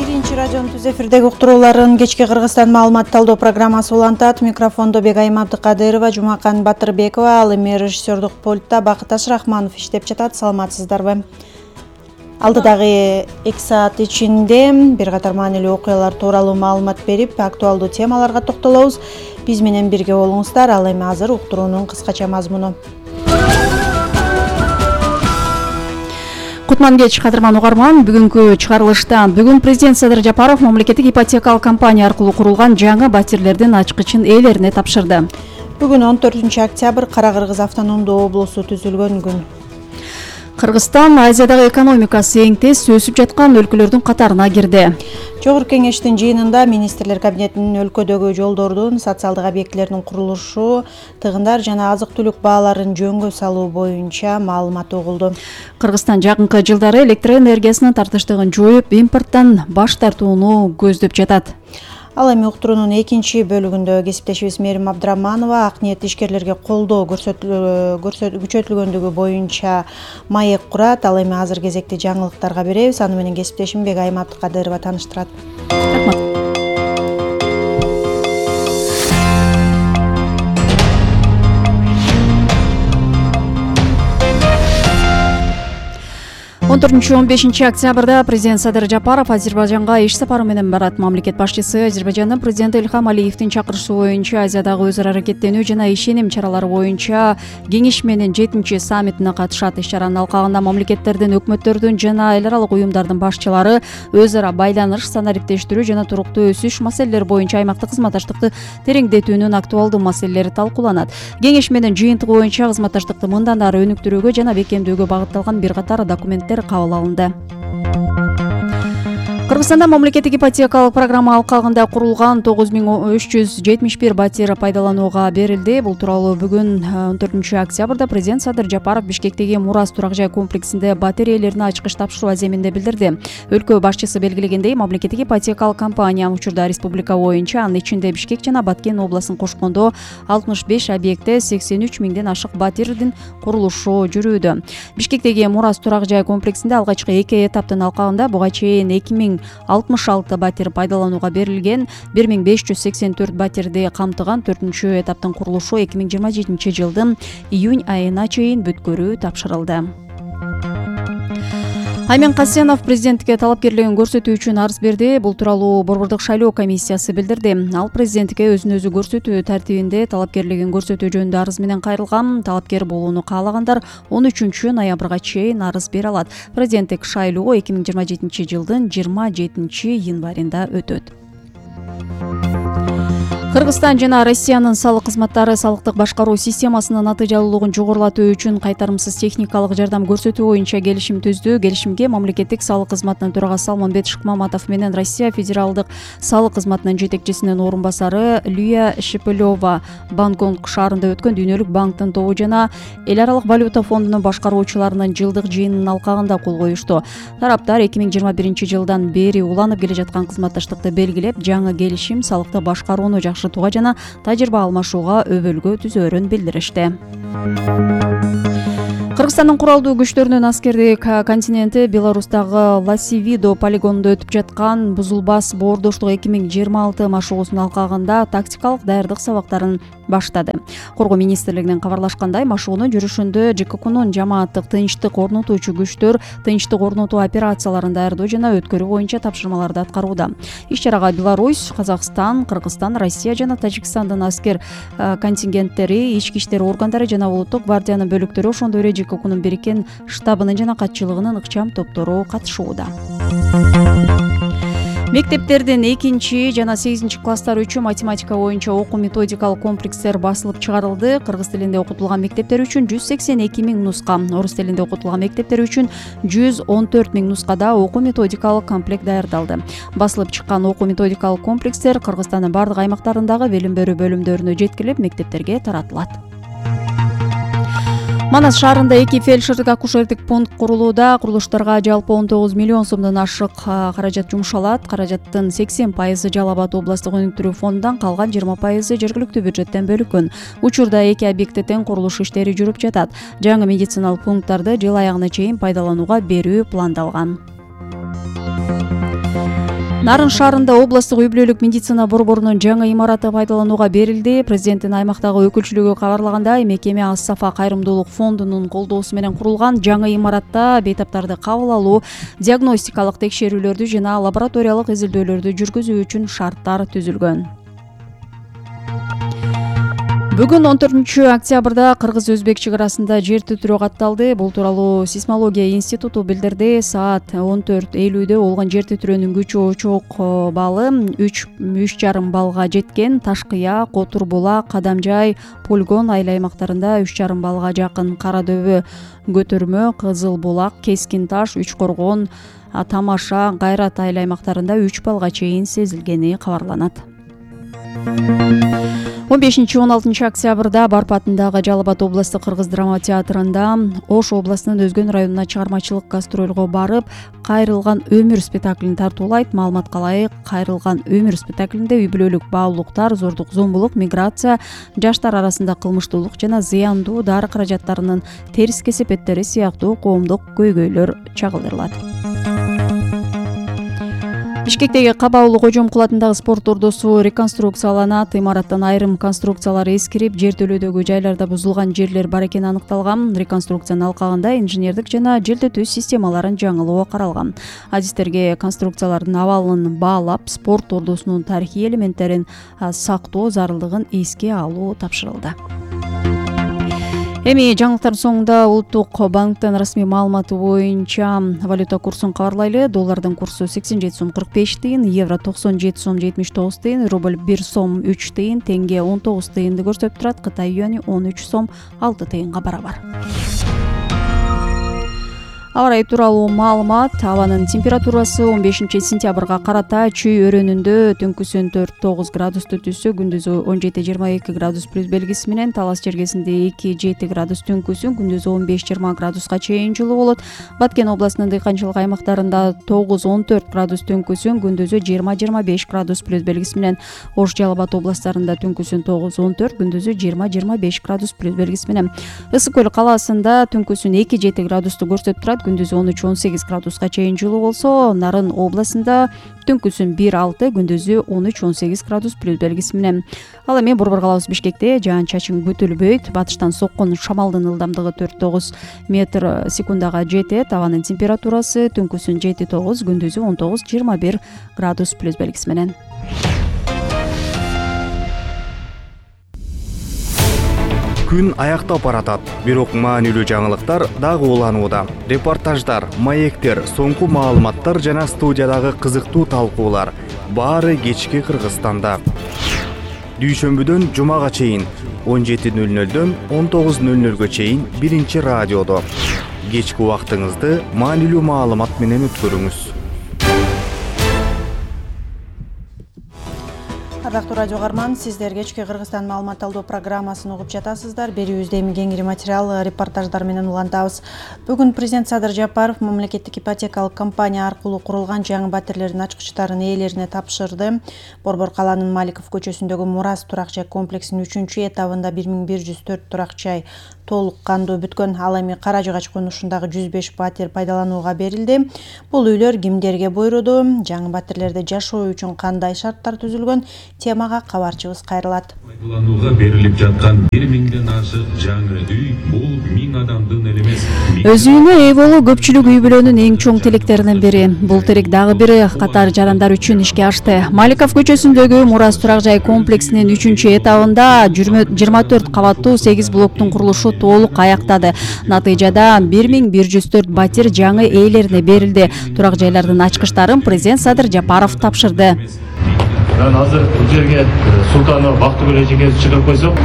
Биринчи радионун түз эфирдеги уктурууларын кечки Кыргызстан маалымат талдоо программасы улантат. Микрофондо Бегайым Абдыкадырова, Жумакан Батырбекова, ал эми режиссердук пультта Бакыт Ашрахманов иштеп жатат. Саламатсыздарбы? Алдыдагы 2 саат ичинде бир катар маанилүү окуялар тууралуу маалымат берип, актуалдуу темаларга токтолобуз. Биз менен бирге болуңуздар. Ал эми азыр уктуруунун кыскача мазмуну. Кутман кеч, кадырман угарман. Бүгүнкү чыгарылышта президент Садыр Жапаров мамлекеттик ипотекалык компания аркылуу курулган жаңы батирлердин ачкычын ээлерине тапшырды. Бүгүн 14 октябрь Кара Кыргыз автономдуу облусу түзүлгөн күн. Кыргызстан Азиядагы экономикасы эң тез өсүп жаткан өлкөлөрдүн катарына кирди. Жогорку кеңештин жыйынында министрлер кабинетинин өлкөдөгү жолдордун, социалдык объектилердин курулушу, тыгындар жана азык-түлүк бааларын жөнгө салуу боюнча маалымат угулду. Кыргызстан жакынкы жылдары электр энергиясынын тартыштыгын жоюп, импорттон баш тартууну көздөп жатат. Ал эми уктуруунун экинчи бөлүгүндө кесиптешибиз Мерим Абдраманова ак ниет ишкерлерге колдоо күчөтүлгөндүгү боюнча маек курат. Ал эми азыр кезекти жаңылыктарга беребиз. Аны менен кесиптешим Бегайым Абдыкадырова тааныштырат. Рахмат. 14-15 октябрда президент Садыр Жапаров Азербайжанга иш сапары менен барат. Мамлекет башчысы Азербайжандын президенти Илхам Алиевдин чакырышуу боюнча Азиядагы өз ара аракеттенүү жана ишеним чаралары боюнча кеңеш менен 7 саммитине катышат. Иш-чаранын алкагында мамлекеттердин, өкмөттөрдүн жана эл аралык уюмдардын башчылары өз ара байланыш, санариптештирүү жана туруктуу өсүш маселелери боюнча аймактык кызматташтыкты тереңдетүүнүн актуалдуу маселелери талкууланат. Кеңеш менен жыйынтыгы боюнча кызматташтыкты мындан ары өнүктүрүүгө жана бекемдөөгө багытталган бир катар документтер кабыл алынды. Кыргызстанда мамлекеттик ипотекалык программа алкагында курулган 9371 батир пайдаланууга берилди. Бул тууралуу бүгүн 14 октябрда президент Садыр Жапаров Бишкектеги Мурас турак жай комплексинде батир ээлерине ачкыч тапшыруу аземинде билдирди. Өлкө башчысы белгилегендей, мамлекеттик ипотекалык компания учурда республика боюнча, анын ичинде Бишкек жана Баткен областын кошкондо 65 объектте 83 миңден ашык батирдин курулушу жүрүүдө. Бишкектеги Мурас турак жай комплексинде алгачкы 2 эtaптын алкагында буга чейин 2066 батир пайдаланууга берилген, 1584 батирди камтыган 4-чү этаптын курулушу 2027 жылдын июнь айына чейин бүткөрүү тапшырылды. Аймен Касенов президентке талапкерлигин көрсөтүү үчүн арыз берди. Бул тууралуу Борбордук шайлоо комиссиясы билдирди. Ал президентке өзүн өзү көрсөтүү тартибинде талапкерлигин көрсөтүү жөнүндө арыз менен кайрылган. Талапкер болууну каалагандар 13 ноябрга чейин арыз бере алат. Президенттик шайлоо 2027 жылдын 27 январында өтөт. Кыргызстан жана Россиянын салык кызматтары салыктык башкаруу системасынын натыйжалуулугун жогорулатуу үчүн кайтарымсыз техникалык жардам көрсөтүү боюнча келишим түздү. Келишимге мамлекеттик салык кызматынын төрагасы Салманбет Шыкмаматов менен Россия федералдык салык кызматынын жетекчисинин орун басары Лия Шепелёва Бангкок шаарында өткөн Дүйнөлүк банктын тобу жана эл аралык валюта фондунун башкаруучуларынын жылдык жыйынынын алкагында кол коюшту. Тараптар 2021 жылдан бери уланып келе жаткан кызматташтыкты белгилеп, жаңы келишим салыкты башкарууну жакшыртууга жана тажрыйба алмашууга өбөлгө түзөөрүн билдиришти. Кыргызстандын куралдуу күчтөрүнүн аскердик контингенти Беларустагы Ласивидо полигонунда өтүп жаткан Бузулбас боордоштук 2026 машыгуусунун алкагында тактикалык даярдык сабактарын баштады. Коргоо министрлигинин кабарлашкандай, машыгуунун жүрүшүндө ЖККнун жамааттык тынчтык орнотуучу күчтөр тынчтык орнотуу операцияларын даярдоо жана өткөрүү боюнча тапшырмаларды аткарууда. Иш-чарага Беларусь, Казакстан, Кыргызстан, Россия жана Тажикстандын аскер контингенттери, ички иштер органдары жана улуттук гвардиянын бөлүктөрү, ошондой эле ЖККнун бириккен штабынын жана катчылыгынын ыкчам топтору катышууда. Мектептердин 2 жана 8 класстар үчүн математика боюнча окуу методикалык комплекстер басылып чыгарылды. Кыргыз тилинде окутулган мектептер үчүн 182 миң нуска, орус тилинде окутулган мектептер үчүн 114 миң нускада окуу методикалык комплект даярдалды. Басылып чыккан окуу методикалык комплекстер Кыргызстандын бардык аймактарындагы билим берүү бөлүмдөрүнө жеткирилип, мектептерге таратылат. Манас шаарында 2 фельдшердик акушердик пункт курулууда. Курулуштарга жалпы 19 миллион сомдон ашык каражат жумшалат. Каражаттын 80% Жалал Абад областык өнүктүрүү фондунан, калган 20% жергиликтүү бюджеттен бөлүнгөн. Учурда 2 объектте тең курулуш иштери жүрүп жатат. Жаңы медициналык пункттарды жыл аягына чейин пайдаланууга берүү пландалган. Нарын шаарында областтык үй-бүлөлүк медицина борборунун жаңы имараты пайдаланууга берилди. Президенттин аймактагы өкүлчүлүгү кабарлагандай, мекеме Ас-Сафа кайрымдуулук фондунун колдоосу менен курулган. Жаңы имаратта бейтаптарды кабыл алуу, диагностикалык текшерүүлөрдү жана лабораториялык изилдөөлөрдү жүргүзүү үчүн шарттар түзүлгөн. Бүгүн 14 октябрда Кыргыз-Өзбек чек арасында жер титирөө катталды. Бул тууралуу Сейсмология институту билдирди. Саат 14:50 болгон жер титирөөнүн күчү очок баллы 3,5 баллга жеткен. Ташкыя, Котурбулак, Кадамжай, Полигон айыл аймактарында 3,5 баллга жакын, Кара дөбө, Көтөрмө, Кызыл булак, Кескин таш, Үч коргон, Тамаша, Кайрат айыл аймактарында 3 баллга чейин сезилгени кабарланат. 15-16 октябрда Барпы атындагы Жалал Абад областык кыргыз драма театрында Ош областынын Өзгөн районуна чыгармачылык гастролго барып, Кайрылган өмүр спектаклин тартуулайт. Маалыматка ылайык, Кайрылган өмүр спектаклинде үй-бүлөлүк баалуулуктар, зордук зомбулук, миграция, жаштар арасында кылмыштуулук жана зыяндуу дары каражаттарынын терс кесепеттери сыяктуу коомдук көйгөйлөр чагылдырылат. Бишкектеги Кабаулы Кожомкул атындагы спорт ордосу реконструкцияланат. Имараттан айрым конструкциялар эскирип, жертөлөөдөгү жайларда бузулган жерлер бар экени аныкталган. Реконструкциянын алкагында инженердик жана желдетүү системаларын жаңылоо каралган. Адистерге конструкциялардын абалын баалап, спорт ордосунун тарыхый элементтерин сактоо зарылдыгын эске алуу тапшырылды. Эми жаңылыктардын соңунда Улуттук банктын расмий маалыматы боюнча валюта курсун кабарлайлы. Доллардын курсу 87 сом 45 тыйын, евро 97 сом 79 тыйын, рубль 1 сом 3 тыйын, тенге 19 тыйынды көрсөтүп турат. Кытай юани 13 сом 6 тыйынга барабар. Аба ырайы тууралуу маалымат. Абанын температурасы 15 сентябрга карата чүй өрөөнүндө түнкүсүн 4-9 градусту түссө, күндүзү 17-22 градус плюс белгиси менен, Талас жергесинде 2-7 градус түнкүсүн, күндүзү 15-20 градуска чейин жылуу болот. Баткен областынын дыйканчылык аймактарында 9-14 градус түнкүсүн, күндүзү 20-25 градус плюс белгиси менен, Ош, Жалал Абад областарында түнкүсүн 9-14, күндүзү 20-25 градус плюс белгиси менен. Ысык көл калаасында түнкүсүн 2-7 градусту көрсөтүп турат. Күндүзү 13-18 градуска чейин жылуу болсо, Нарын областында түнкүсүн 1-6, күндүзү 13-18 градус плюс белгиси менен. Ал эми борбор калабыз Бишкекте жаан-чачын күтүлбөйт. Батыштан соккон шамалдын ылдамдыгы 4-9 метр секундага жетет. Абанын температурасы түнкүсүн 7-9, күндүзү 19-21 градус плюс белгиси менен. Күн аяктап баратат, бирок маанилүү жаңылыктар дагы уланууда. Репортаждар, маектер, соңку маалыматтар жана студиядагы кызыктуу талкуулар баары кечки Кыргызстанда. Дүйшөмбүдөн жумага чейин 17:00дөн 19:00 чейин биринчи радиодо. Кечки убактыңызды маанилүү маалымат менен өткөрүңүз. Ардактуу радио угарман, сиздер кечки Кыргызстан маалымат алуу программасын угуп жатасыздар. Берүүбүздө эми кеңири материал, репортаждар менен улантабыз. Бүгүн президент Садыр Жапаров мамлекеттик ипотекалык компания аркылуу курулган жаңы батирлердин ачкычтарын ээлерине тапшырды. Борбор калаанын Маликов көчөсүндөгү Мурас турак жай комплексинин 3-чү этабында 1104 турак жай толук кандуу бүткөн. Ал эми Кара Жыгач конушундагы 105 батир пайдаланууга берилди. Бул үйлөр кимдерге буйруду? Жаңы батирлерде жашоо үчүн кандай шарттар түзүлгөн? Темага кабарчыбыз кайрылат. Пайдаланууга берилип жаткан 1000ден ашык жаңы үй бул 1000 адамдын эле эмес. Өз үйүнө ээ болуу көпчүлүк үй бүлөнүн эң чоң тилектеринин бири. Бул тилек дагы бир катар жарандар үчүн ишке ашты. Маликов көчөсүндөгү Мурас турак жай комплексинин 3-чү этабында 24 кабаттуу 8 блоктун курулушу толук аяктады. Натыйжада 1104 батир жаңы ээлерине берилди. Турак жайлардын ачкычтарын президент Садыр Жапаров тапшырды. Мен азыр бул жерге Султанов Бактыгүл эжекебиз чыгып койсок.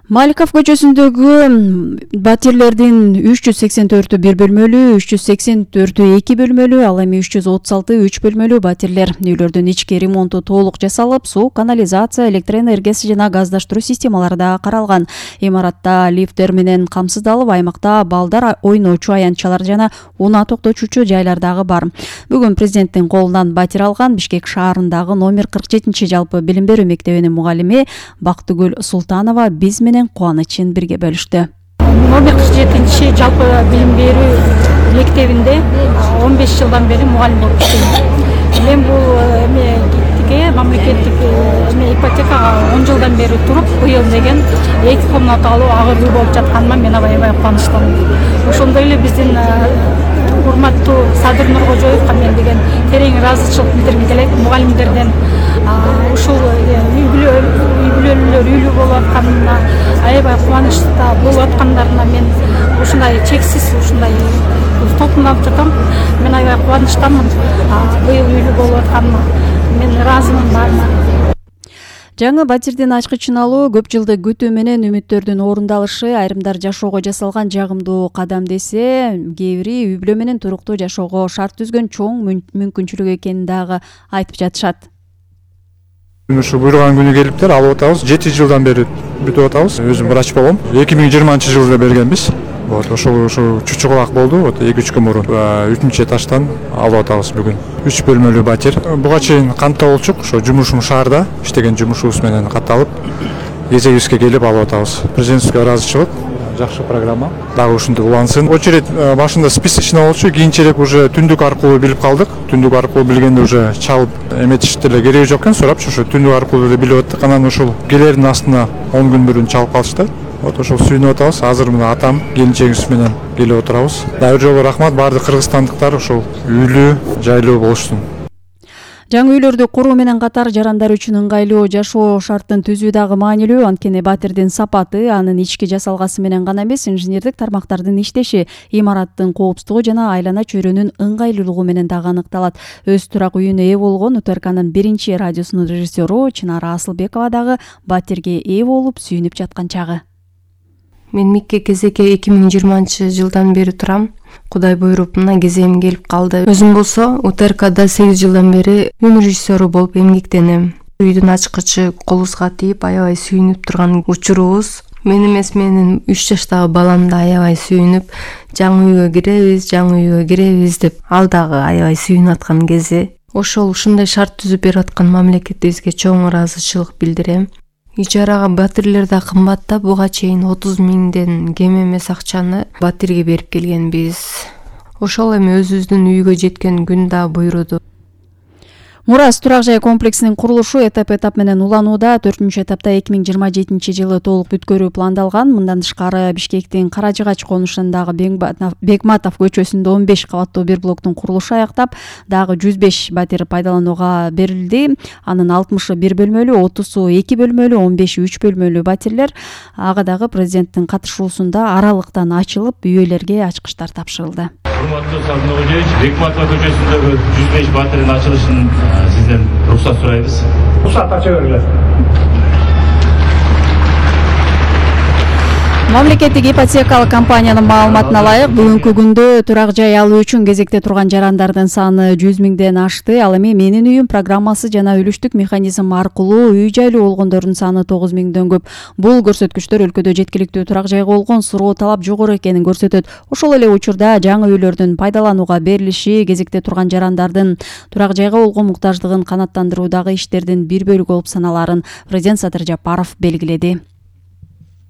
Маликов көчөсүндөгү батирлердин 384 бир бөлмөлүү, 384 2 бөлмөлүү, ал эми 336 3 бөлмөлүү батирлер. Үйлөрдүн ички ремонту толук жасалып, суу, канализация, электр энергиясы жана газдаштыруу системалары да каралган. Имаратта лифттер менен камсыздалып, аймакта балдар ойночу аянтчалар жана унаа токтотуучу жайлар дагы бар. Бүгүн президенттин колунан батир алган Бишкек шаарындагы номер 47 жалпы билим берүү мектебинин мугалими Бактыгүл Султанова биз менен менен кубанычын бирге бөлүштү. Номер 47 жалпы билим берүү мектебинде 15 жылдан бери мугалим болуп иштейм. Мен бул мамлекеттик ипотекага 10 жылдан бери туруп, быйыл деген 2 комнаталуу агыр үй болуп жатканыма мен аябай кубанычтамын. Ошондой эле биздин урматтуу Садыр Нуркожоевго мен деген терең ыраазычылык билдиргим келет. Мугалимдерден ушул үй бүлөлүүлөр үйлүү болуп атканына, аябай кубанычта болуп аткандарына мен ушундай чексиз ушундай толкуналып жатам. Мен аябай кубанычтамын. Быйыл үйлүү болуп атканыма мен ыраазымын баарына. Жаңы батирдин ачкычын алуу көп жылдык күтүү менен үмүттөрдүн орундалышы, айрымдар жашоого жасалган жагымдуу кадам десе, кээ бири үй бүлө менен туруктуу жашоого шарт түзгөн чоң мүмкүнчүлүк экенин дагы айтып жатышат. Ушу буйруган күнү келиптир, алып атабыз. 7 жылдан бери бүтүп атабыз. Өзүм врач болгом. 2020-жылда бергенбиз. Ошол чучугулак болду. 2-3 күн мурун 3-чү этаждан алып атабыз бүгүн. 3 бөлмөлүү батир. Буга чейин кантта болчук, ошо жумушум шаарда иштеген жумушубуз менен катталып, кезегибизге келип алып атабыз. Президентский ыраазычылык, жакшы программа. Дагы ушинтип улансын. Очередь башында списочный болчу, кийинчерээк уже түндүк аркылуу билип калдык. Түндүк аркылуу билгенде уже чалып эметиштер эле кереги жок экен, сурапчы, ошо түндүк аркылуу эле билип аттык. Анан ушул келердин астына 10 күн бүрүн чалып калышты. Ошол сүйүнүп атабыз. Азыр мына атам, келинчегибиз менен келип отурабыз. Дагы бир жолу рахмат баардык кыргызстандыктар ошол үйлүү, жайлуу болушсун. Жаңы үйлөрдү куруу менен катар жарандар үчүн ыңгайлуу жашоо шартын түзүү дагы маанилүү. Анткени батирдин сапаты анын ички жасалгасы менен гана эмес, инженердик тармактардын иштеши, имараттын коопсуздугу жана айлана чөйрөнүн ыңгайлуулугу менен дагы аныкталат. Өз турак үйүнө ээ болгон УТРКнын биринчи радиосунун режиссеру Чынара Асылбекова дагы батирге ээ болуп сүйүнүп жаткан чагы. Мен Микке кезекке 2020-жылдан бери турам. Кудай буйруп, мына кезегим келип калды. Өзүм болсо УТРКда 8 жылдан бери үй режиссеру болуп эмгектенем. Үйдүн ачкычы колубузга тийип аябай сүйүнүп турган учурубуз. Мен эмес, менин 3 жаштагы балам да аябай сүйүнүп, жаңы үйгө киребиз деп, ал дагы аябай сүйүнүп аткан кези. Ушундай шарт түзүп берип аткан мамлекетибизге чоң ыраазычылык билдирем. Ижарага батирлер да кымбаттап, буга чейин 30 миңден кем эмес акчаны батирге берип келгенбиз. Ошол эми өзүбүздүн үйгө жеткен күн да буйруду. Мурас турак жай комплексинин курулушу этап менен уланууда. 4-этапта 2027-жылы толук бүткөрүү пландалган. Мындан тышкары Бишкектин Каражыгач конушундагы Бекматов көчөсүндө 15 кабаттуу бир блоктун курулушу аяктап, дагы 105 батир пайдаланууга берилди. Анын 60-ы 1 бөлмөлүү, 30-у 2 бөлмөлүү, 15-и 3 бөлмөлүү батирлер. Ага дагы президенттин катышуусунда аралыктан ачылып, үй ээлерге ачкычтар тапшырылды. Урматтуу Садыр Нуркожоевич, Бекматов көчөсүндөгү 105 батирдин ачылышын сизден уруксат сурайбыз. Уруксат ача бергиле. Мамлекеттик ипотекалык компаниянын маалыматына ылайык, бүгүнкү күндө турак жай алуу үчүн кезекте турган жарандардын саны 100 миңден ашты. Ал эми Менин үйүм программасы жана үлүштүк механизм аркылуу үй жайлуу болгондордун саны 9 миңден көп. Бул көрсөткүчтөр өлкөдө жеткиликтүү турак жайга болгон суроо талап жогору экенин көрсөтөт. Ошол эле учурда жаңы үйлөрдүн пайдаланууга берилиши кезекте турган жарандардын турак жайга болгон муктаждыгын канааттандыруудагы иштердин бир бөлүгү болуп саналарын президент Садыр Жапаров белгиледи.